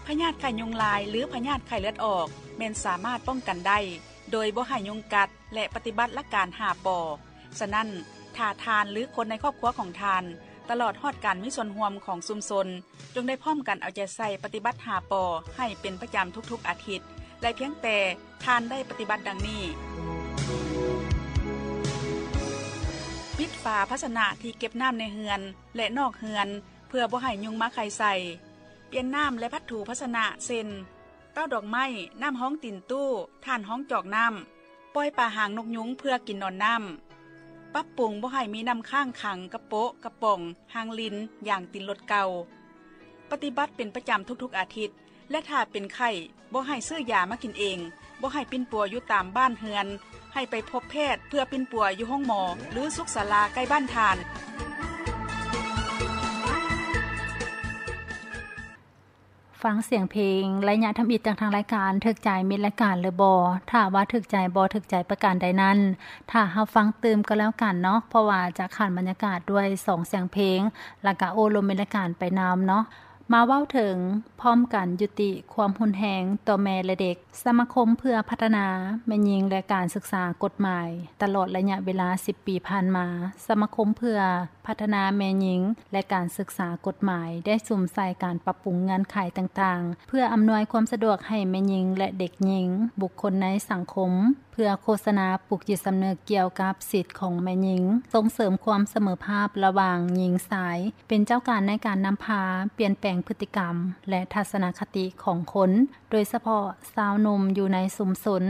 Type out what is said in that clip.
ພະຍາດໄຂ້ຍຸງລາຍ ຫຼື ພະຍາດໄຂ້ເລືອດອອກ ແມ່ນສາມາດປ້ອງກັນໄດ້ ໂດຍບໍ່ໃຫ້ຍຸງກັດ ແລະ ປະຕິບັດຫຼັກການຫ້າ ປ. ສະນັ້ນ, ຖ້າທ່ານ ຫຼື ຄົນໃນຄອບຄົວຂອງທ່ານ ຕະຫຼອດຮອດການມີສ່ວນຮ່ວມຂອງຊຸມຊົນ ຈົ່ງໄດ້ພ້ອມກັນເອົາໃຈໃສ່ປະຕິບັດຫ້າ ປ ໃຫ້ເປັນປະຈຳທຸກໆອາທິດ ແລະ ພຽງແຕ່ທ່ານໄດ້ປະຕິບັດດັ່ງນີ້: ປິດຝາພາຊະນະທີ່ເກັບນ້ຳໃນເຮືອນ ແລະ ນອກເຮືອນ ເພື່ອບໍ່ໃຫ້ຍຸງມາໄຂ່ໃສ່. ປ່ຽນນ້ຳ ແລະ ພັດຖູພາຊະນະ ເຊັ່ນ ເຕົ້າດອກໄມ້, ນ້ຳຮອງຕີນຕູ້, ຖ່ານຮອງຈອກນ້ຳ, ປ່ອຍປາຫາງນົກຍຸງເພື່ອກິນໜອນນ້ຳ. ປັບປຸງບໍ່ໃຫ້ມີນ້ຳຄ້າງຂັງ ກະໂປະ, ກະປ໋ອງ, ຮາງລິນ, ຢາງຕີນລົດເກົ່າ. ປະຕິບັດເປັນປະຈຳທຸກໆອາທິດ ແລະ ຖ້າເປັນໄຂ້ ບໍ່ໃຫ້ຊື້ຢາມາກິນເອງ, ບໍ່ໃຫ້ປິ່ນປົວຢູ່ຕາມບ້ານເຮືອນ, ໃຫ້ໄປພົບແພດເພື່ອປິ່ນປົວຢູ່ໂຮງໝໍ ຫຼື ສຸກສາລາໃກ້ບ້ານທ່ານ. ຟັງສຽງເພງໄລຍະທຳອິດຈາກທາງລາຍການ ຖືກໃຈມິດລາຍການຫຼືບໍ່? ຖ້າວ່າຖືກໃຈບໍ່ຖືກໃຈປະການໃດນັ້ນ ຖ້າຮັບຟັງຕື່ມກໍແລ້ວກັນເນາະ, ເພາະວ່າຈະຂານບັນຍາກາດດ້ວຍສອງສຽງເພງ ແລ້ວກະໂອ້ລົມມິດລາຍການໄປນຳເນາະ. ມາເວົ້າເຖິງ ພ້ອມກັນຍຸຕິຄວາມຮຸນແຮງຕໍ່ແມ່ ແລະ ເດັກ. ສະມາຄົມເພື່ອພັດທະນາແມ່ຍິງ ແລະ ການສຶກສາກົດໝາຍ. ຕະຫຼອດໄລຍະເວລາສິບປີຜ່ານມາ, ສະມາຄົມເພື່ອພັດທະນາແມ່ຍິງ ແລະ ການສຶກສາກົດໝາຍ ໄດ້ສຸມໃສ່ການປັບປຸງເງື່ອນໄຂຕ່າງໆ ເພື່ອອຳນວຍຄວາມສະດວກໃຫ້ແມ່ຍິງ ແລະ ເດັກຍິງ, ບຸກຄົນໃນສັງຄົມ, ເພື່ອໂຄສະນາປຸກຈິດສຳນຶກກ່ຽວກັບສິດຂອງແມ່ຍິງ, ສົ່ງເສີມຄວາມສະເໝີພາບລະຫວ່າງຍິງຊາຍ, ເປັນເຈົ້າການໃນການນຳພາປ່ຽນແປງພຶດຕິກຳ ແລະ ທັດສະນະຄະຕິຂອງຄົນ, ໂດຍສະເພາະຊາວໜຸ່ມຢູ່ໃນຊຸມຊົນ.